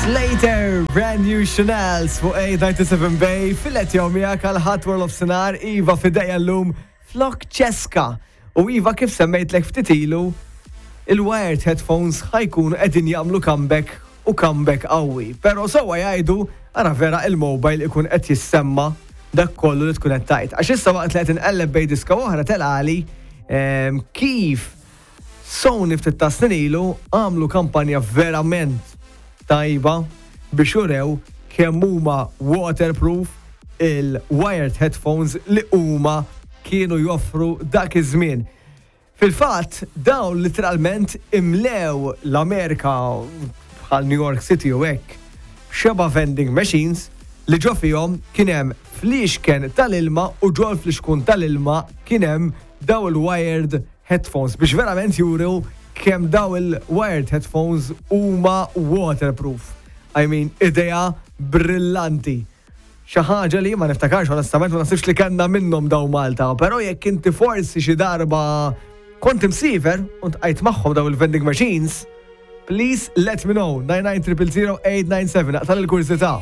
Slater, Brand New Chanels fuq A97 Bay, fil-qed jew miegħek għal ħadd World of Sinar, Iva fidejja llum flok ċeska. U Iva kif semmejtlek ftit ilu, il-wired headphones ħa jkunu qegħdin jagħmlu comeback u comeback qawwi. Però sewwa jgħidu ara vera il-mobile ikun qed jissemma dak kollu li tkun qed tgħid. Għax issa waqt li qed inqelleb bejn diska u oħra telgħali ehm, kif Sony ftit ta' snin ilu għamlu kampanja verament tajba biex urew kemm huma waterproof il-wired headphones li huma kienu joffru dak iż-żmien. Fil-fatt, dawn litteralment imlew l-Amerika bħal New York City u hekk b'xeba' vending machines li ġo fihom kien hemm fliexken tal-ilma u ġol-flixkun tal-ilma kien hemm dawn il-wired headphones biex verament juru kemm dawn il-wired headphones huma waterproof. I mean, idea brillanti. Xi ħaġa li ma niftakarx onestament ma naħsibx li kellna minnhom dawn Malta, però jekk inti forsi xi darba kont imsiefer u ntqajt magħhom dawn il-vending machines, please let me know 99 000 897 aqtal il-kurżità.